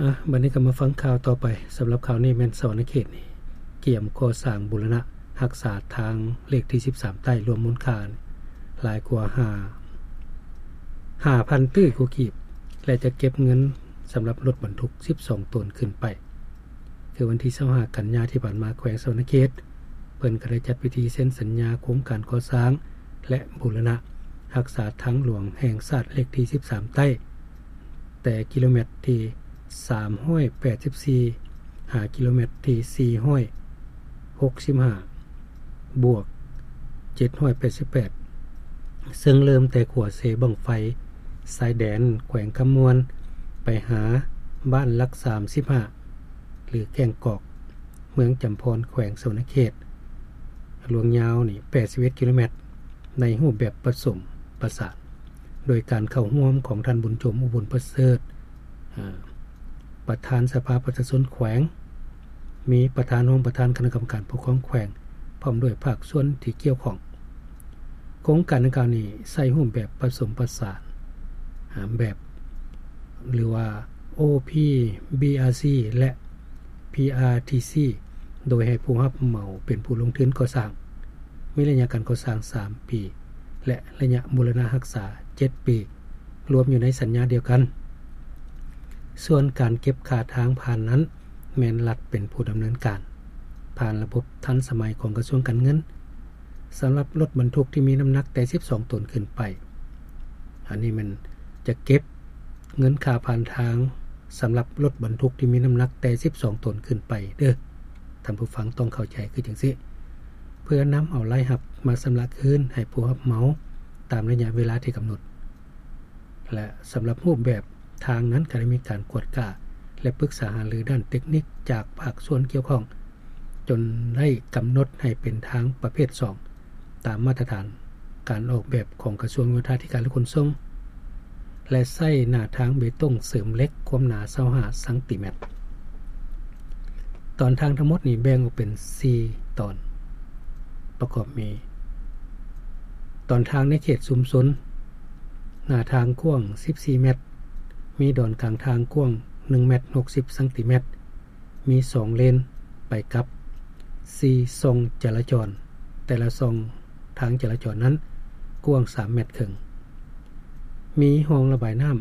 ອາ ບັດນີ້ກໍມາຟັງຂ່າວຕໍ່ໄປ. ສຳລັບຂ່າວນີ້ແມ່ນສະຫວັນນະເຂດນີ້ກຽມກໍ່ສ້າງບູລະນະຮັກສາທາງເລກທີສິບສາມໃຕ້ ລວມມູນຄ່າຫຼາຍກວ່າຫ້າ ຫ້າພັນຕື້ກວ່າກີບ ແລະ ຈະເກັບເງິນສຳລັບລົດບັນທຸກສິບສອງໂຕນຂຶ້ນໄປ. ຄືວັນທີຊາວຫ້າກັນຍາທີ່ຜ່ານມາ ແຂວງສະຫວັນນະເຂດ ເພິ່ນກໍໄດ້ຈັດພິທີເຊັນສັນຍາໂຄງການກໍ່ສ້າງ ແລະ ບູລະນະຮັກສາທາງຫຼວງແຫ່ງຊາດເລກທີສິບສາມໃຕ້ ແຕ່ກິໂລແມັດທີສາມຮ້ອຍແປດສິບສີ່ ຫາກິໂລແມັດທີສີ່ຮ້ອຍຫົກສິບຫ້າ ບວກເຈັດຮ້ອຍແປດສິບແປດ ເຊິ່ງເລີ່ມແຕ່ຂົວເຊບັ້ງໄຟຊາຍແດນແຂວງຄຳມ່ວນ ໄປຫາບ້ານຫຼັກສາມສິບຫ້າ ຫຼື ແກ້ງກອກ ເມືອງຈຳພອນ ແຂວງສະຫວັນນະເຂດ, ລວງຍາວນີ້ແປດສິບເອັດກິໂລແມັດ ໃນຮູບແບບປະສົມປະສານ ໂດຍການເຂົ້າຮ່ວມຂອງທ່ານ ບຸນໂຈມ ອຸບົນປະເສີດ ອາ ປະທານສະພາປະຊາຊົນແຂວງ, ມີປະທານ, ຮອງປະທານຄະນະກຳມະການປົກຄອງແຂວງ ພ້ອມດ້ວຍພາກສ່ວນທີ່ກ່ຽວຂ້ອງ. ໂຄງການດັ່ງກ່າວນີ້ໃຊ້ຮູບແບບປະສົມປະສານ ອາ ແບບ ຫຼືວ່າ ໂອພີບີອາຊີ ແລະ ພີອາທີຊີ ໂດຍໃຫ້ຜູ້ຮັບເໝົາເປັນຜູ້ລົງທຶນກໍ່ສ້າງ, ມີໄລຍະການກໍ່ສ້າງສາມປີ ແລະ ໄລຍະບູລະນະຮັກສາເຈັດປີ ລວມຢູ່ໃນສັນຍາດຽວກັນ. ສ່ວນການເກັບຄ່າທາງຜ່ານນັ້ນ ແມ່ນລັດເປັນຜູ້ດຳເນີນການ ຜ່ານລະບົບທັນສະໄໝຂອງກະຊວງການເງິນ ສຳລັບລົດບັນທຸກທີ່ມີນ້ຳໜັກແຕ່ສິບສອງໂຕນຂຶ້ນໄປ. ອັນນີ້ແມ່ນຈະເກັບເງິນຄ່າຜ່ານທາງ ສຳລັບລົດບັນທຸກທີ່ມີນ້ຳໜັກແຕ່ສິບສອງໂຕນຂຶ້ນໄປເດີ້. ທ່ານຜູ້ຟັງຕ້ອງເຂົ້າໃຈຄືຈັ່ງຊີ້ ເພື່ອນຳເອົາລາຍຮັບມາຊຳລະຄືນໃຫ້ຜູ້ຮັບເໝົາຕາມໄລຍະເວລາທີ່ກຳນົດ. ແລະ ສຳລັບຮູບແບບທາງນັ້ນ ກໍໄດ້ມີການກວດກາ ແລະ ປຶກສາຫາລືດ້ານເຕັກນິກຈາກພາກສ່ວນກ່ຽວຂ້ອງ ຈົນໄດ້ກຳນົດໃຫ້ເປັນທາງປະເພດສອງ ຕາມມາດຕະຖານການອອກແບບຂອງກະຊວງໂຍທາທິການ ແລະ ຂົນສົ່ງ ແລະ ໃຊ້ໜ້າທາງເບຕົງເສີມເຫຼັກຄວາມໜາຊາວຫ້າຊັງຕີແມັດ. ຕອນທາງທັງໝົດນີ້ແບ່ງອອກເປັນສີ່ຕອນ ປະກອບມີ ຕອນທາງໃນເຂດຊຸມຊົນ, ໜ້າທາງກວ້າງສິບສີ່ແມັດ, ມີດອນກາງທາງກວ້າງໜຶ່ງແມັດຫົກສິບຊັງຕີແມັດ, ມີສອງເລນໄປກັບ, ສີ່ຊ່ອງຈະລາຈອນ, ແຕ່ລະຊ່ອງທາງຈະລາຈອນນັ້ນກວ້າງສາມແມັດເຄິ່ງ, ມີຮ່ອງລະບາຍນ້ຳ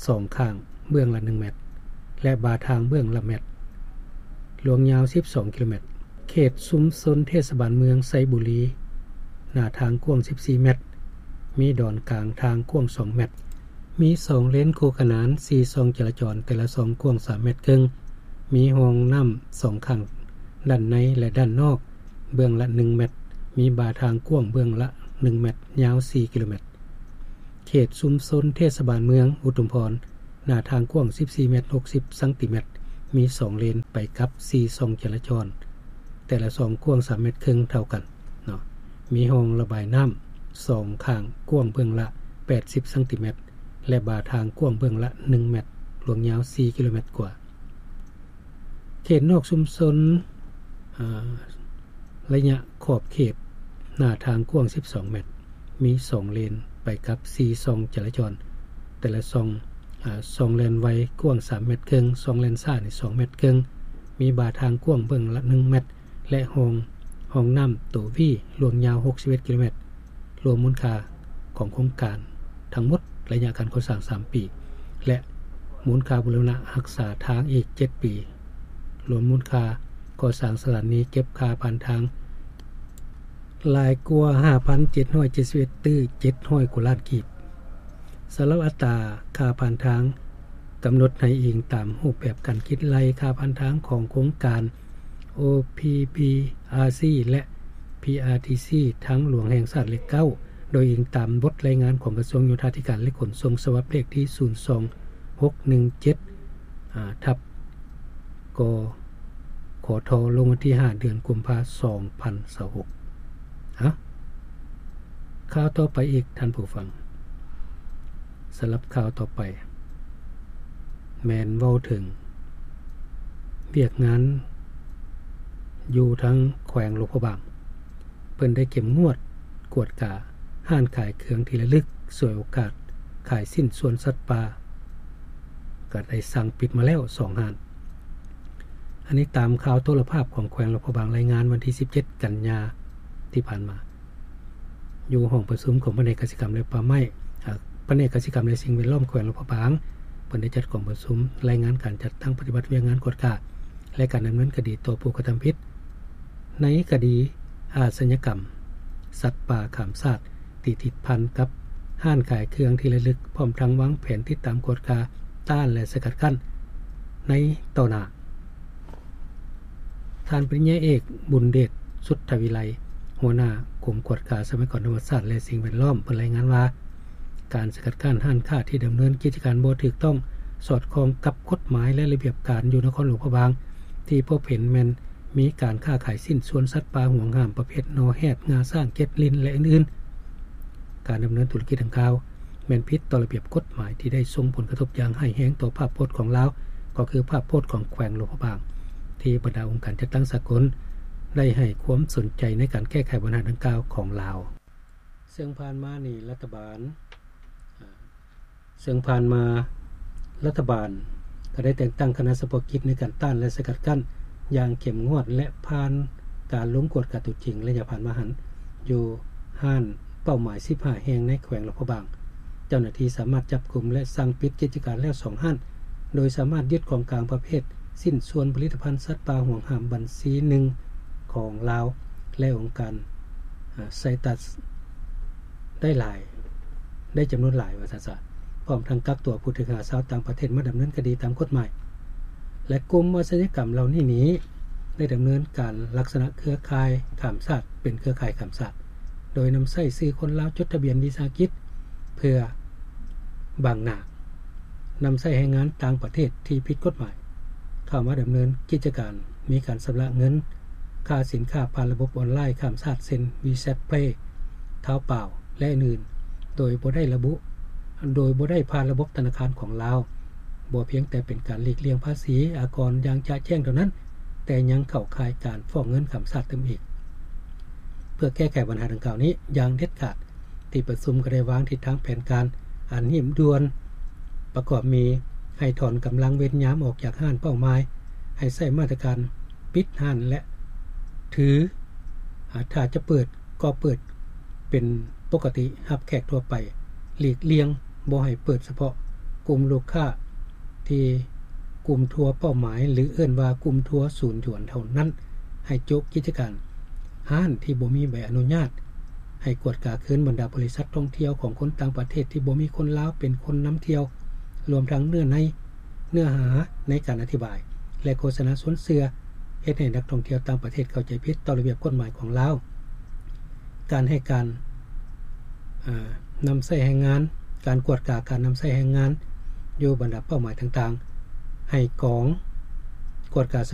ສອງຂ້າງເບື້ອງລະໜຶ່ງແມັດ ແລະ ບາທາງເບື້ອງລະແມັດ, ລວງຍາວສິບສອງກິໂລແມັດ. ເຂດຊຸມຊົນເທດສະບານເມືອງໄຊບູລີ, ໜ້າທາງກວ້າງສິບສີ່ແມັດ, ມີດອນກາງທາງກວ້າງສອງແມັດ, ມີສອງເລນຄູ່ຂະໜານ, ສີ່ຊ່ອງຈະລາຈອນ, ແຕ່ລະຊ່ອງກວ້າງສາມແມັດເຄິ່ງ, ມີຮ່ອງນ້ຳສອງຂ້າງ, ດ້ານໃນ ແລະ ດ້ານນອກ, ເບື້ອງລະໜຶ່ງແມັດ, ມີບາທາງກວ້າງເບື້ອງລະໜຶ່ງແມັດ, ຍາວສີ່ກິໂລແມັດ. ເຂດຊຸມຊົນເທດສະບານເມືອງອຸທຸມພອນ, ໜ້າທາງກວ້າງສິບສີ່ແມັດຫົກສິບຊັງຕີແມັດ, ມີສອງເລນໄປກັບ, ສີ່ຊ່ອງຈະລາຈອນ, ແຕ່ລະຊ່ອງກວ້າງສາມແມັດເຄິ່ງເທົ່າກັນເນາະ, ມີຮ່ອງລະບາຍນ້ຳສອງຂ້າງ, ກວ້າງເບື້ອງລະແປດສິບຊັງຕີແມັດ ແລະ ບາທາງກວ້າງເບື້ອງລະໜຶ່ງແມັດ, ລວງຍາວສີ່ກິໂລແມັດກວ່າ. ເຂດນອກຊຸມຊົນ, ອາ, ໄລຍະຂອບເຂດໜ້າທາງກວ້າງສິບສອງແມັດ, ມີສອງເລນໄປກັບສີ່ຊ່ອງຈະລາຈອນ, ແຕ່ລະຊ່ອງ, ອາ, ຊ່ອງແລ່ນໄວກວ້າງສາມແມັດເຄິ່ງ, ຊ່ອງແລ່ນຊ້ານີ້ສອງແມັດເຄິ່ງ, ມີບາທາງກວ້າງເບື້ອງລະໜຶ່ງແມັດ ແລະ ຮ່ອງ, ຮ່ອງນ້ຳໂຕວີ, ລວງຍາວຫົກສິບເອັດກິໂລແມັດ. ລວມມູນຄ່າຂອງໂຄງການທັງໝົດໄລຍະການກໍ່ສ້າງສາມປີ ແລະ ມູນຄ່າບູລະນະຮັກສາທາງອີກເຈັດປີ, ລວມມູນຄ່າກໍ່ສ້າງສະຖານີເກັບຄ່າຜ່ານທາງຫຼາຍກວ່າຫ້າພັນເຈັດຮ້ອຍເຈັດສິບເອັດຕື້ເຈັດຮ້ອຍກວ່າລ້ານກີບ. ສຳລັບອັດຕາຄ່າຜ່ານທາງ ກຳນົດໃຫ້ອີງຕາມຮູບແບບການຄິດໄລ່ຄ່າຜ່ານທາງຂອງໂຄງການ ໂອພີບີອາຊີ ແລະ ພີອາທີຊີ ທາງຫຼວງແຫ່ງຊາດເລກເກົ້າ ໂດຍອີງຕາມບົດລາຍງານຂອງກະຊວງໂຍທາທິການ ແລະ ຂົນສົ່ງ ສະບັບເລກທີສູນສອງຫົກໜຶ່ງເຈັດ ອາ ທັບ ກ ຂທ ລົງວັນທີຫ້າ ເດືອນກຸມພາ ສອງພັນຊາວຫົກ. ອາ ຂ່າວຕໍ່ໄປອີກທ່ານຜູ້ຟັງ. ສຳລັບຂ່າວຕໍ່ໄປ ແມ່ນເວົ້າເຖິງວຽກງານຢູ່ທາງແຂວງຫຼວງພະບາງ, ເພິ່ນໄດ້ເຂັ້ມງວດກວດກາຮ້ານຂາຍເຄື່ອງທີ່ລະລຶກ, ສວຍໂອກາດຂາຍຊິ້ນສ່ວນສັດປ່າ, ກໍໄດ້ສັ່ງປິດມາແລ້ວສອງຮ້ານ. ອັນນີ້ຕາມຂ່າວໂທລະພາບຂອງແຂວງຫຼວງພະບາງລາຍງານວັນທີສິບເຈັດກັນຍາທີ່ຜ່ານມາ ຢູ່ຫ້ອງປະຊຸມຂອງພະແນກກະສິກຳ ແລະ ປ່າໄມ້ ອາ ພະແນກກະສິກຳ ແລະ ສິ່ງແວດລ້ອມແຂວງຫຼວງພະບາງ ເພິ່ນໄດ້ຈັດກອງປະຊຸມລາຍງານການຈັດຕັ້ງປະຕິບັດວຽກງານກວດກາ ແລະ ການດຳເນີນຄະດີຕໍ່ຜູ້ກະທຳຜິດ ໃນຄະດີອາຊະຍາກຳສັດປ່າຂ້າມຊາດ ທີ່ຕິດພັນກັບຮ້ານຂາຍເຄື່ອງທີ່ລະລຶກ ພ້ອມທັງວາງແຜນຕິດຕາມກວດກາ ຕ້ານ ແລະ ສະກັດກັ້ນໃນຕໍ່ໜ້າ. ທ່ານປະລິນຍາເອກ ບຸນເດດ ສຸດທະວິໄລ ຫົວໜ້າກົມກວດກາຊັບພະຍາກອນທຳມະຊາດ ແລະ ສິ່ງແວດລ້ອມ ເພິ່ນລາຍງານວ່າ ການສະກັດກັ້ນຮ້ານຄ້າທີ່ດຳເນີນກິດຈະການບໍ່ຖືກຕ້ອງ ສອດຄ່ອງກັບກົດໝາຍ ແລະ ລະບຽບການຢູ່ນະຄອນຫຼວງພະບາງ ທີ່ພົບເຫັນແມ່ນມີການຄ້າຂາຍຊິ້ນສ່ວນສັດປ່າຫວງຫ້າມປະເພດໜໍ່ແຮດ, ງາຊ້າງ, ເຈັດລິ້ນ ແລະ ອື່ນໆ. ການດຳເນີນທຸລະກິດດັ່ງກ່າວ ແມ່ນຜິດຕໍ່ລະບຽບກົດໝາຍທີ່ໄດ້ສົ່ງຜົນກະທົບຢ່າງຮ້າຍແຮງຕໍ່ພາບພົດຂອງລາວ ກໍຄືພາບພົດຂອງແຂວງຫຼວງພະບາງ ທີ່ບັນດາອົງການຈັດຕັ້ງສາກົນໄດ້ໃຫ້ຄວາມສົນໃຈໃນການແກ້ໄຂບັນຫາດັ່ງກ່າວຂອງລາວ. ເຊິ່ງຜ່ານມານີ້ລັດຖະບານ ເຊິ່ງຜ່ານມາລັດຖະບານກໍໄດ້ແຕ່ງຕັ້ງຄະນະສະເພາະກິດໃນການຕ້ານ ແລະ ສະກັດກັ້ນຢ່າງເຂັ້ມງວດ ແລະ ຜ່ານການລົງກວດກາຕົວຈິງໄລຍະຜ່ານມາຫັ້ນ ຢູ່ຮ້ານເປົ້າໝາຍສິບຫ້າແຫ່ງໃນແຂວງຫຼວງພະບາງ. ເຈົ້າໜ້າທີ່ສາມາດຈັບກຸມ ແລະ ສັ່ງປິດກິດຈະການແລ້ວສອງຮ້ານ ໂດຍສາມາດຍຶດຂອງກາງປະເພດຊິ້ນສ່ວນຜະລິດຕະພັນສັດປ່າຫວງຫ້າມບັນຊີໜຶ່ງຂອງລາວ ແລະ ອົງການ ອາ ໄຊຕັສ ໄດ້ຫຼາຍ ໄດ້ຈຳນວນຫຼາຍວ່າຊັ້ນຊະ ພ້ອມທັງກັກຕົວຜູ້ຖືກຫາຊາວຕ່າງປະເທດມາດຳເນີນຄະດີຕາມກົດໝາຍ ແລະ ກຸ່ມອາຊະຍາກຳເຫຼົ່ານີ້ນີ້ ໄດ້ດຳເນີນການລັກສະນະເຄືອຂ່າຍຂ້າມຊາດ ເປັນເຄືອຂ່າຍຂ້າມຊາດ ໂດຍນຳໃຊ້ຊື່ຄົນລາວຈົດທະບຽນວິສາຫະກິດເພື່ອບັງໜ້າ ນຳໃຊ້ແຮງງານຕ່າງປະເທດທີ່ຜິດກົດໝາຍ ເຂົ້າມາດຳເນີນກິດຈະການ, ມີການຊຳລະເງິນຄ່າສິນຄ້າຜ່ານລະບົບອອນລາຍຂ້າມຊາດ ເຊັ່ນ WeChat Pay, Taobao ແລະ ອື່ນໆ ໂດຍບໍ່ໄດ້ລະບຸ ໂດຍບໍ່ໄດ້ຜ່ານລະບົບທະນາຄານຂອງລາວ, ບໍ່ພຽງແຕ່ເປັນການຫຼີກລ່ຽງພາສີອາກອນຢ່າງຈະແຈ້ງເທົ່ານັ້ນ, ແຕ່ຍັງເຂົ້າຂ່າຍການຟອກເງິນຂ້າມຊາດຕື່ມອີກ. ເພື່ອແກ້ໄຂບັນຫາດັ່ງກ່າວນີ້ຢ່າງເດັດຂາດ, ທີ່ປະຊຸມກໍໄດ້ວາງທິດທາງແຜນການອັນຮີບດ່ວນ ປະກອບມີ ໃຫ້ຖອນກຳລັງເວນຍາມອອກຈາກຮ້ານເປົ້າໝາຍ, ໃຫ້ໃຊ້ມາດຕະການປິດຮ້ານ ແລະ ຖື ອາ ຖ້າຈະເປີດກໍເປີດເປັນປົກກະຕິຮັບແຂກທົ່ວໄປ, ຫຼີກລ່ຽງບໍ່ໃຫ້ເປີດສະເພາະກຸ່ມລູກຄ້າທີ່ກຸ່ມທົວເປົ້າໝາຍ ຫຼື ເອີ້ນວ່າກຸ່ມທົວສູນຢວນເທົ່ານັ້ນ, ໃຫ້ໂຈະກິດຈະການ ຮ້ານທີ່ບໍ່ມີໃບອະນຸຍາດ, ໃຫ້ກວດກາຄືນບັນດາບໍລິສັດທ່ອງທ່ຽວຂອງຄົນຕ່າງປະເທດທີ່ບໍ່ມີຄົນລາວເປັນຄົນນຳທ່ຽວ, ລວມທັງເນື້ອໃນ ເນື້ອຫາໃນການອະທິບາຍ ແລະ ໂຄສະນາຊວນເຊື່ອ, ເຮັດໃຫ້ນັກທ່ອງທ່ຽວຕ່າງປະເທດເຂົ້າໃຈຜິດຕໍ່ລະບຽບກົດໝາຍຂອງລາວ. ການໃຫ້ການ ອາ ນຳໃຊ້ແຮງງານ, ການກວດກາການນຳໃຊ້ແຮງງານຢູ່ບັນດາເປົ້າໝາຍຕ່າງໆ, ໃຫ້ກອງກວດກາສະ